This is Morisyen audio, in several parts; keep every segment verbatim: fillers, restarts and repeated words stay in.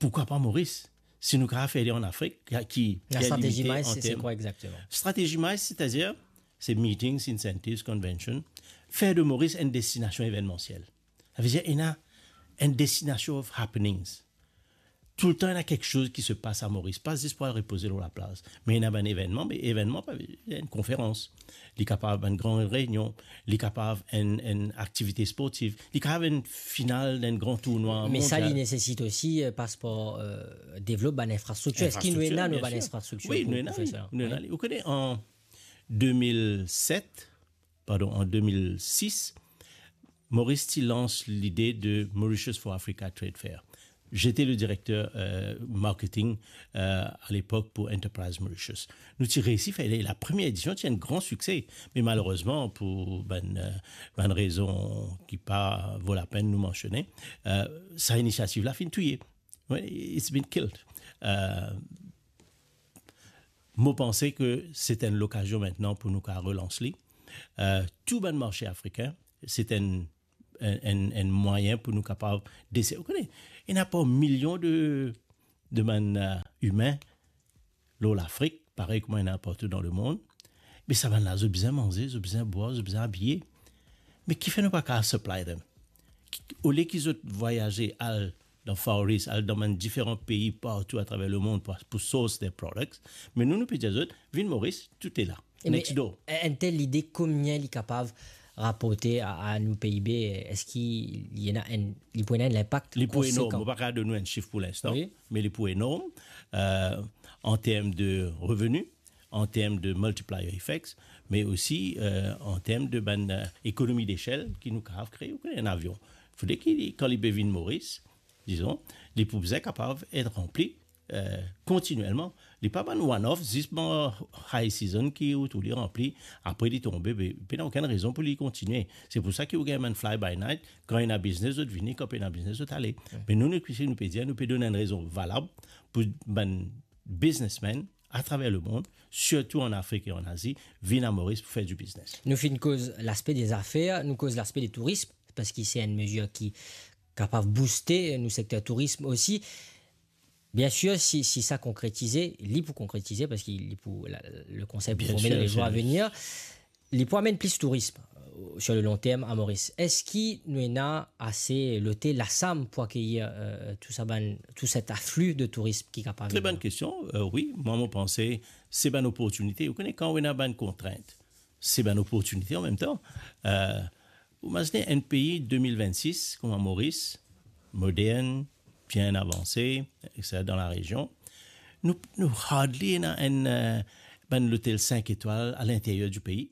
Pourquoi pas Maurice? Si nou kapav fer li an Afrik, ki, ki, ki... La stratégie MICE, c'est quoi exactement? Stratégie MICE, c'est-à-dire, c'est meetings, incentives, convention, faire de Maurice une destination événementielle. Ça veut dire, il y a une destination of happenings. Toultan ena kiksoz ki se pas a Moris, pa zis pou al repoze lor laplaz, me ena bann evennman, me evennman, pa enn konferans, li kapav enn gran reynion, li kapav enn, enn aktivite sportiv, li kapav enn final d'enn gran tournwa mondial. Me sa, li nesesit osi, euh, paspor, euh, devlop bann infrastriktir. Eski nou ena nou bann infrastriktir pou, pou fer sa? Wi, nou ena, nou ena. Ou kone, an de mil set, pardon, an de mil sis, Maurice ti lans lide de Mauritius for Africa Trade Fair. J'étais le directeur, euh, marketing, euh, à l'époque pour Enterprise Mauritius. Nou ti reysi fer la première édition, ti enn gran sikse, me malerezman, pou bann, euh, bann rezon ki pa vo lapenn nou mansione, euh, sa inisiativ la finn touye. Well, it's been killed. Euh, mo panse ke se enn lokazion aster pou nou kapav relans li. Euh, tou bann marse afrikin, se enn, enn, enn, enn mwayin pou nou kapav deser-, ou kone, ena par milion de, de bann, euh, imin lor Lafrik, parey kouma ena partou dan lemond. Me sa bann la, zot bizin manze, zot bizin bwar, zot bizin abiye. Me kifer nou pa kapav supply them? Ki, olie ki zot vwayaze al dan Far East, al dan bann diferan pei partou atraver lemond pou, pou source their products, me nou, nou pe dir zot, vinn Moris, tou ena la. E me, next door. Enn tel lide, komie li kapav raporte a, a nou P I B? Eski li ena enn, li pou ena enn linpak konsekan? Li pou enorm. Mo pa kapav donn ou enn sif pou linstan, wi, me li pou enorm, euh, an term de reveni, an term de multiplier effects, me osi, euh, an term de bann, euh, ekonomi desel ki nou kapav kree. Ou kone enn avion, fode ki, kan li pe vinn Moris, dizon, li pou bizin kapav et ranpli, euh, kontinielman. Li pa bann one-off, zis bann high season ki ou trouv li ranpli, apre li tonbe, be, pena okenn rezon pou li kontinie. Se pou sa ki ou gagn bann fly by night, kan ena biznes, zot vini, kan pena biznes, zot ale. Wi. Me nou, nou, si nou pe dir, nou pe donn enn rezon valab pou bann biznesmenn atraver lemond, sirtou an Afrik e an Azi, vinn a Moris pou fer dibiznes. Nou finn koz laspe de zafer, nou koz laspe de tourism, parski se enn mezir ki kapav bouste nou sekter tourism osi. Biensir, si, si sa konkretize, li pou konkretize, parski li pou, la, le konsey pou forme dan le zour a venir. Li pou amenn plis tourism, euh, sur le long terme a Moris. Eski nou ena ase lotel, lasam pou akeyir, euh, tou sa bann, tou set afli de tourism ki kapav vini? Tre bonn kestion. Euh, wi, mwa, mo panse se bann loportinite. Ou kone, kan ou ena bann kontrint, se bann loportinite an mem tan. Euh, ou imazine enn pei de mil vennsis, kouma Moris, modern, bien avanse, et cetera, dan larezion. Nou, nou hardly ena enn, euh, bann lotel sink etwal a linteryer di pei.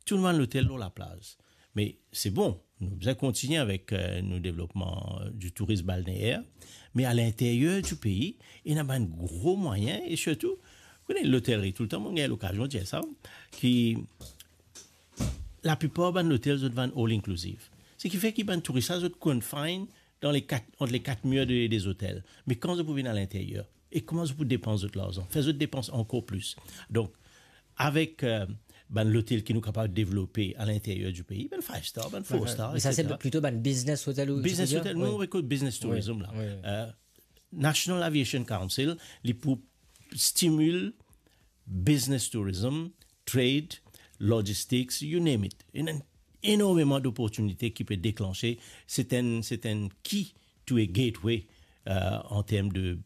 Tou nou bann lotel lor laplaz. Me se bon, nou bizin kontinie avek, euh, nou devlopman, euh, di tourism balneer. Me a linteryer di pei, ena bann gro mwayin e sirtou, ou kone, lotelri, toultan mo gagn lokazion dir sa, ki laplipar bann lotel, zot vann all inclusive. Seki fer ki bann touris la, zot confine dan le kat, ant le kat mir de, de zotel. Me kan zot pou vinn a linteryer, e kouma zot pou depans zot larzan? Fer zot depans ankor plis. Donk, avek, euh, bann lotel ki nou kapav devlope a linteryer di pei, bann five star, bann four star, et cetera. Wi, wi. Me sa, se plito bann business hotel ou... Business hotel, nou, wi, nou apel business tourism la. Wi, wi. Euh, National Aviation Council, li pou stimil business tourism, trade, logistics, you name it. Ena enormeman doportinite ki pe deklanse. Se enn, se enn key to a gateway, euh, an term de,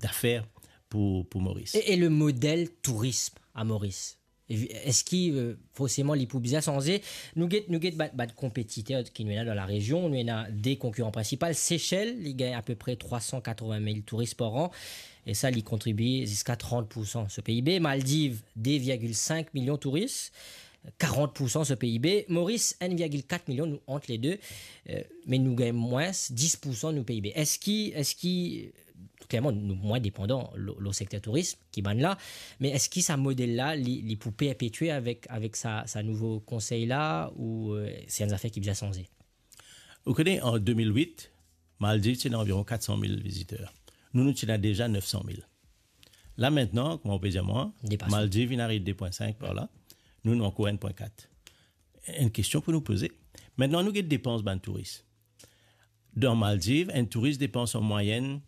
dafer pou, pou Moris. E, e le model tourism a Moris? E vi-, eski, euh, forseman li pou bizin sanze? Nou get, nou get bann, bann konpetiter ki nou ena dan larezion. Nou ena de konkiran prinsipal. Sesel, li gagn apepre trwa san katrovin mil touris par an. E sa, li kontribie ziska trant pour san so P I B. Maldiv, de virgil sink milion touris, karant pour san so P I B. Moris, enn virgil kat milion, nou ant le de, euh, me nou gagn mwins dis pour san nou P I B. Eski, eski, klerman, nou mwin depandan lor, lor sekter tourism ki bann la, me eski sa model la, li, li pou perpetie avek, avek sa, sa nouvo konsey la, ou, euh, se enn zafer ki bizin sanze? Ou kone, an de mil wit, Maldiv ti ena anviron kat san mil viziter. Nou, nou ti ena deza nef san mil. La, aster, kouma ou pe dir mwa, Maldiv inn ariv de pwin sink par la. Nou, nou ankor enn pwin kat. Enn kestion pou nou poze. Aster, nou get depans bann touris. Dan Maldiv, enn touris depans an mwayenn